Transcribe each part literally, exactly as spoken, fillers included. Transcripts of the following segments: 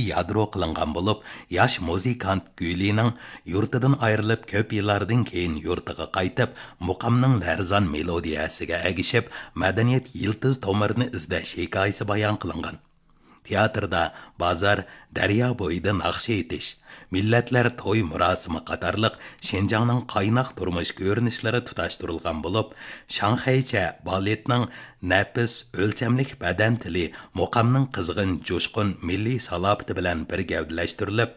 يادرو قىلىنغان بولۇپ، ياش مۇزىكانت گۈلىنىڭ يۇرتىدىن ئايرىلىپ كۆپ يىللاردىن كېيىن يۇرتىغا قايتىپ، مۇقامنىڭ لەرزان مېلودىيەسىگە ئەگىشىپ، مەدەنىيەت يىلتىز تومۇرىنى ئىزدەش ھېكايىسى بايان قىلىنغان. تىياتىردا بازار، دەريا بويىدا ناخشا ئېيتىش، مىللەتلەر توي مۇراسىمى قاتارلىق شىنجاڭنىڭ قايناق تۇرمۇش كۆرۈنۈشلىرى تۇتاشتۇرۇلغان بولۇپ، شاڭخەيچە بالېتنىڭ نەپىس، ئۆلچەملىك بەدەن تىلى مۇقامنىڭ قىزغىن، جۇشقۇن مىللىي سالاپىتى بىلەن بىر گەۋدىلەشتۈرۈلۈپ،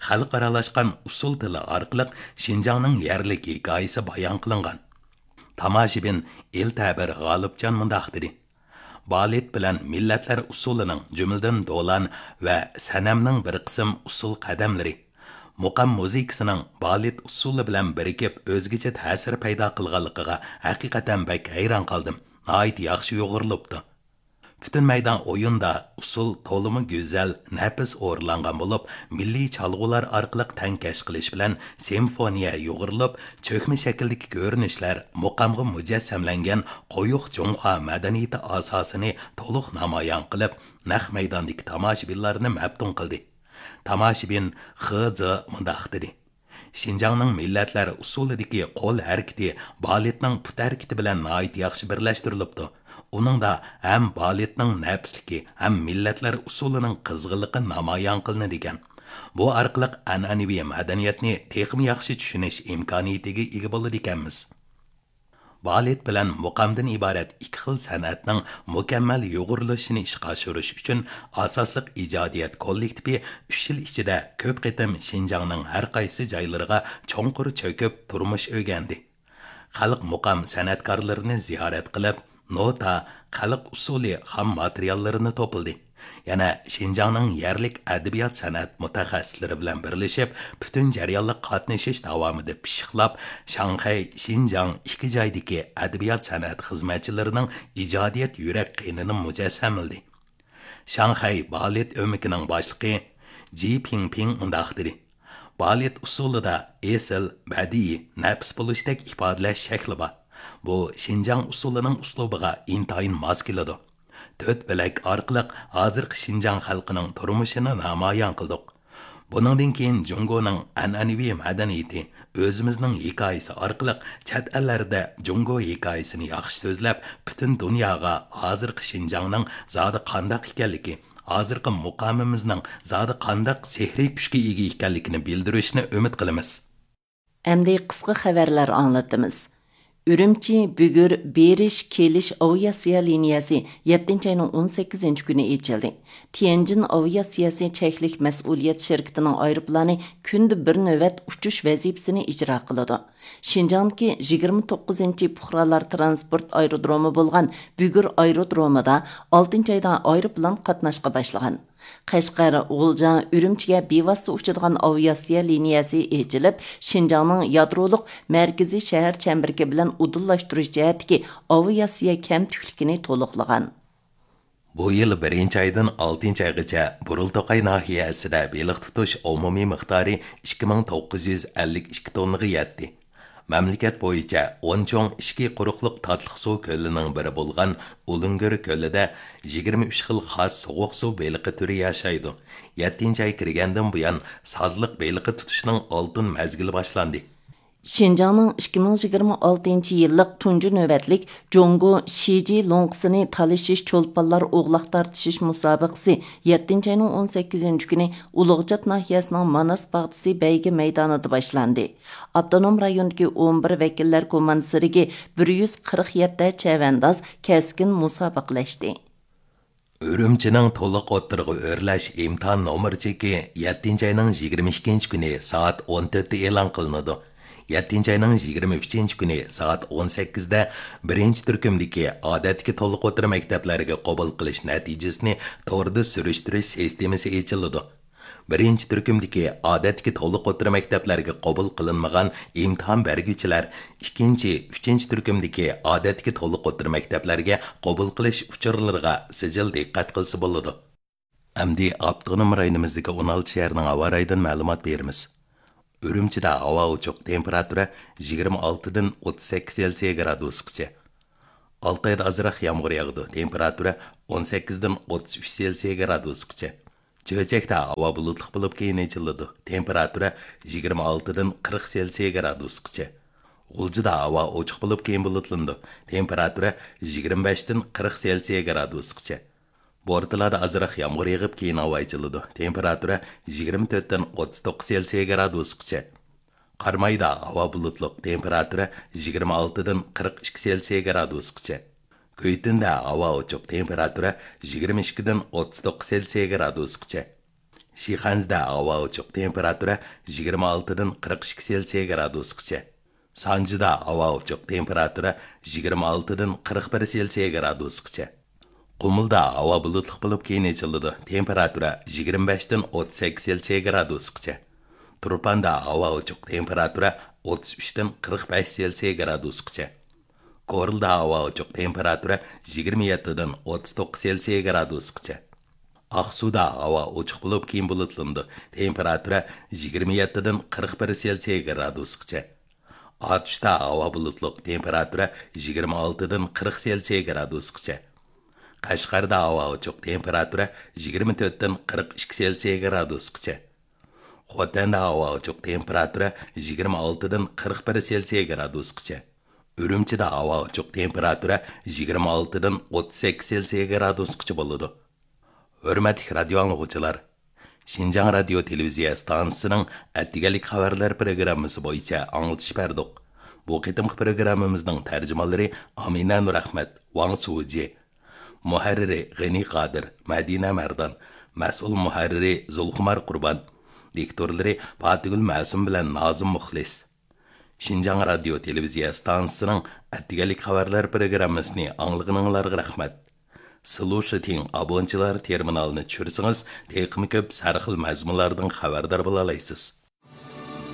خەلقئارالاشقان ئۇسسۇل تىلى ئارقىلىق شىنجاڭنىڭ يەرلىك ھېكايىسى بايان قىلىنغان. تاماشىبىن ئېلتەبىر غالىپجان مۇنداق دېدى: بالېت بىلەن مىللەتلەر ئۇسسۇلىنىڭ، جۈملىدىن دولان ۋە سەنەمنىڭ بىر قىسىم ئۇسسۇل قەدەملىرى، مۇقام مۇزىكىسىنىڭ بالېت ئۇسسۇلى بىلەن بىرىكىپ ئۆزگىچە تەسىر پەيدا قىلغانلىقىغا ھەقىقەتەن بەك ھەيران قالدىم. ناھايىتى ياخشى يۇغۇرۇلۇپتۇ. پۈتۈن مەيدان ئويۇندا ئۇسسۇل تولىمۇ گۈزەل، نەپىس ئورۇنلانغان بولۇپ، مىللىي چالغۇلار ئارقىلىق تەڭكەش قىلىش بىلەن سىمفونىيە يۇغۇرۇلۇپ، چۆكمە شەكىلدىكى كۆرۈنۈشلەر مۇقامغا مۇجەسسەملەنگەن قويۇق جۇڭخۇا مەدەنىيىتى ئاساسىنى تولۇق نامايان قىلىپ، نەق مەيداندىكى تاماشىبىنلارنى مەپتۇن قىلدى. تاماشىبىن خې زې مۇنداق دېدى: شىنجاڭنىڭ مىللەتلەر ئۇسسۇلىدىكى قول ھەرىكىتى بالېتنىڭ پۇت ھەرىكىتى بىلەن ناھايىتى ياخشى بىرلەشتۈرۈلۈپتۇ. ئۇنىڭدا ھەم بالېتنىڭ نەپىسلىكى، ھەم مىللەتلەر ئۇسسۇلىنىڭ قىزغىنلىقى نامايان قىلىنىدىكەن. بۇ ئارقىلىق ئەنئەنىۋى مەدەنىيەتنى تېخىمۇ ياخشى چۈشىنىش ئىمكانىيىتىگە ئىگە بولىدىكەنمىز. بالېت بىلەن مۇقامدىن ئىبارەت ئىككى خىل سەنئەتنىڭ مۇكەممەل يۇغۇرۇلۇشىنى ئىشقا ئاشۇرۇش ئۈچۈن ئاساسلىق ئىجادىيەت كوللېكتىپى ئۈچ يىل ئىچىدە كۆپ قېتىم شىنجاڭنىڭ ھەر قايسى جايلىرىغا چوڭقۇر چۆكۈپ تۇرمۇش ئۆگەندى. خەلق مۇقام سەنئەتكارلىرىنى زىيارەت قىلىپ، نوتا، خەلق ئۇسسۇلى خام ماتېرىياللىرىنى توپلىدى. يەنە شىنجاڭنىڭ يەرلىك ئەدەبىيات سەنئەت مۇتەخەسسىسلىرى بىلەن بىرلىشىپ، پۈتۈن جەريانلىق قاتنىشىش داۋامىدا پىششىقلاپ، شاڭخەي، شىنجاڭ ئىككى جايدىكى ئەدەبىيات سەنئەت خىزمەتچىلىرىنىڭ ئىجادىيەت يۈرەك قېنىنى مۇجەسسەملىدى. شاڭخەي بالېت ئۆمىكىنىڭ باشلىقى جى پىڭپىڭ مۇنداق دېدى: بالېت ئۇسسۇلىدا ئېسىل، بەدىئىي، نەپىس بولۇشتەك ئىپادىلەش شەكلى بار. بۇ شىنجاڭ ئۇسسۇلىنىڭ ئۇسلۇبىغا ئىنتايىن ماس كېلىدۇ. تۆت بۆلەك ئارقىلىق ھازىرقى شىنجاڭ خەلقىنىڭ تۇرمۇشىنى نامايان قىلدۇق. بۇنىڭدىن كېيىن جۇڭگونىڭ ئەنئەنىۋى مەدەنىيىتى، ئۆزىمىزنىڭ ھېكايىسى ئارقىلىق چەت ئەللەردە جۇڭگو ھېكايىسىنى ياخشى سۆزلەپ، پۈتۈن دۇنياغا ھازىرقى شىنجاڭنىڭ زادى قانداق ئىكەنلىكى، ھازىرقى مۇقامىمىزنىڭ زادى قانداق سېھرىي كۈچكە ئىگە ئىكەنلىكىنى بىلدۈرۈشنى ئۈمىد قىلىمىز. ئەمدى قىسقا خەۋەرلەر ئاڭلىتىمىز. ئۈرۈمچى، بۈگۈر بېرىش، كېلىش ئاۋىئاتسىيە لىنىيەسى يەتتىنچى ئاينىڭ ئون سەككىزىنچى كۈنى ئېچىلدى. تيەنجىن ئاۋىئاتسىيەسى چەكلىك مەسئۇلىيەت شىركىتىنىڭ ئايروپىلانى كۈندە بىر نۆۋەت ئۇچۇش ۋەزىپىسىنى ئىجرا قىلىدۇ. شىنجاڭدىكى يىگىرمە توققۇزىنچى پۇقرالار ترانسپورت ئايرودرومى بولغان بۈگۈر ئايرودرومىدا ئالتىنچى ئايدا ئايروپىلان قاتناشقا باشلىغان. قەشقەر، غۇلجا، ئۈرۈمچىگە بىۋاسىتە ئۇچىدىغان ئاۋىئاتسىيە لىنىيەسى ئېچىلىپ، شىنجاڭنىڭ يادرولۇق مەركىزىي شەھەر چەمبىرىكى بىلەن ئۇدۇللاشتۇرۇش جەھەتتىكى ئاۋىئاتسىيە كەمتۈكلۈكىنى تولۇقلىغان. بۇ يىل بىرىنچى ئايدىن ئالتىنچى ئايغىچە بۇرۇلتوقاي ناھىيەسىدە بېلىق تۇتۇش ئومۇمىي مىقدارى ئىككى مىڭ توققۇز يۈز ئەللىك ئىككى توننىغا يەتتى. مەملىكەت بويىچە ئون چوڭ ئىچكى قۇرۇقلۇق تاتلىق سۇ كۆلىنىڭ بىرى بولغان ئۇلۇنگۈر كۆلىدە يىگىرمە ئۈچ خىل خاس سوغۇق سۇ بېلىقى تۈرى ياشايدۇ. يەتتىنچى ئاي كىرگەندىن بۇيان سازلىق بېلىقى تۇتۇشنىڭ ئالتۇن مەزگىلى باشلاندى. شىنجاڭنىڭ ئىككى مىڭ يىگىرمە ئالتىنچى يىللىق تۇنجى نۆۋەتلىك جۇڭگو شىجى لوڭقىسىنى تالىشىش چولپانلار ئوغلاق تارتىشىش مۇسابىقىسى يەتتىنچى ئاينىڭ ئون سەككىزىنچى كۈنى ئۇلۇغچات ناھىيەسىنىڭ ماناس باغچىسى بەيگە مەيدانىدا باشلاندى. ئاپتونوم رايوندىكى ئون بىر ۋەكىللەر كوماندىسىدىكى بىر يۈز قىرىق يەتتە چەۋەنداز كەسكىن مۇسابىقىلەشتى. ئۈرۈمچىنىڭ تولۇق ئوتتۇرىغا ئۆرلەش ئىمتىھان نومۇر چېكى يەتتىنچى ئاينىڭ يىگىرمە ئىككىنچى كۈنى سائەت ئون تۆتتە ئېلان قىلىنىدۇ. يەتتىنچى ئاينىڭ يىگىرمە ئۈچىنچى كۈنى سائەت ئون سەككىزدە بىرىنچى تۈركۈمدىكى ئادەتتىكى تولۇق ئوتتۇرا مەكتەپلەرگە قوبۇل قىلىش نەتىجىسىنى توردا سۈرۈشتۈرۈش سىستېمىسى ئېچىلىدۇ. بىرىنچى تۈركۈمدىكى ئادەتتىكى تولۇق ئوتتۇرا مەكتەپلەرگە قوبۇل قىلىنمىغان ئىمتىھان بەرگۈچىلەر ئىككىنچى، ئۈچىنچى تۈركۈمدىكى ئادەتتىكى تولۇق ئوتتۇرا مەكتەپلەرگە قوبۇل قىلىش ئۇچۇرلىرىغا سىجىل دىققەت قىلسا بولىدۇ. ئەمدى ئاپتونوم رايونىمىزدىكى ئون ئالتە شەھەرنىڭ ھاۋا رايىدىن مەلۇمات بېرىمىز. ئۈرۈمچىدە ھاۋا ئوچۇق، تېمپېراتۇرا يىگىرمە ئالتىدىن ئوتتۇز سەككىز سېلسىيە گرادۇسقىچە. ئالتايدا ئازراق يامغۇر ياغىدۇ، تېمپېراتۇرا ئون سەككىزدىن ئوتتۇز ئۈچ سېلسىيە گرادۇسقىچە. چۆچەكتە ھاۋا بۇلۇتلۇق بولۇپ، كېيىن ئېچىلىدۇ. تېمپېراتۇرا يىگىرمە ئالتىدىن قىرىق سېلسىيە گرادۇسقىچە. غۇلجىدا ھاۋا ئوچۇق بولۇپ، كېيىن بۇلۇتلىنىدۇ. تېمپېراتۇرا يىگىرمە بەشتىن قىرىق سېلسىيە گرادۇسقىچە. بورتالادا ئازراق يامغۇر يېغىپ، كېيىن ھاۋا ئېچىلىدۇ. تېمپېراتۇرا يىگىرمە تۆتتىن ئوتتۇز توققۇز سېلسىيە گرادۇسقىچە. قارامايدا ھاۋا بۇلۇتلۇق، تېمپېراتۇرا يىگىرمە ئالتىدىن قىرىق ئىككى سېلسىيە گرادۇسقىچە. كۈيتۈندە ھاۋا ئوچۇق، تېمپېراتۇرا يىگىرمە ئىككىدىن ئوتتۇز توققۇز سېلسىيە گرادۇسقىچە. شىخەنزىدە ھاۋا ئوچۇق، تېمپېراتۇرا يىگىرمە ئالتىدىن قىرىق ئىككى سېلسىيە گرادۇسقىچە. سانجىدا ھاۋا ئوچۇق، تېمپېراتۇرا يىگىرمە ئالتىدىن قىرىق بىر سېلسىيە گرادۇسقىچە. قۇمۇلدا ھاۋا بۇلۇتلۇق بولۇپ، كېيىن ئېچىلىدۇ. تېمپېراتۇرا يىگىرمە بەشتىن ئوتتۇز سەككىز سېلسىيە گرادۇسقىچە. تۇرپاندا ھاۋا ئوچۇق، تېمپېراتۇرا ئوتتۇز ئۈچتىن قىرىق بەش سېلسىيە گرادۇسقىچە. كورلىدا ھاۋا ئوچۇق، تېمپېراتۇرا يىگىرمە يەتتىدىن ئوتتۇز توققۇز سېلسىيە گرادۇسقىچە. ئاقسۇدا ھاۋا ئوچۇق بولۇپ، كېيىن بۇلۇتلىنىدۇ. تېمپېراتۇرا يىگىرمە يەتتىدىن قىرىق بىر سېلسىيە گرادۇسقىچە. ئاتۇشتا ھاۋا بۇلۇتلۇق، تېمپېراتۇرا يىگىرمە ئالتىدىن قىرىق سېلسىيە گرادۇسقىچە. قەشقەردە ھاۋا ئوچۇق، تېمپېراتۇرا يىگىرمە تۆتتىن قىرىق ئىككى سېلسىيە گرادۇسقىچە. خوتەندە ھاۋا ئوچۇق، تېمپېراتۇرا يىگىرمە ئالتىدىن قىرىق بىر سېلسىيە گرادۇسقىچە. ئۈرۈمچىدە ھاۋا ئوچۇق، تېمپېراتۇرا يىگىرمە ئالتىدىن ئوتتۇز سەككىز سېلسىيە گرادۇسقىچە بولىدۇ. ھۆرمەتلىك رادىيو ئاڭلىغۇچىلار، شىنجاڭ رادىيو تېلېۋىزىيە ئىستانسىسىنىڭ ئەتىگەنلىك خەۋەرلەر پروگراممىسى بويىچە ئاڭلىتىش بەردۇق. بۇ قېتىمقى پروگراممىمىزنىڭ تەرجىمانلىرى ئامىنە نۇرئەخمەت، ۋاڭ سۇجى. مۇھەررىرى غېنى قادىر، مەدىنە مەردان. مەسئۇل مۇھەررىرى زۇلخۇمار قۇربان. دىكتورلىرى پاتىگۈل مەسۇم بىلەن نازىم مۇخلىس. شىنجاڭ رادىيو تېلېۋىزىيە ئىستانسىسىنىڭ ئەتىگەنلىك خەۋەرلەر پروگراممىسىنى ئاڭلىغىنىڭلارغا رەھمەت. سلۇشىتىڭ ئابونچىلار تېرمىنالىنى چۈشۈرسىڭىز، تېخىمۇ كۆپ سەرخىل مەزمۇنلاردىن خەۋەردار بولالايسىز.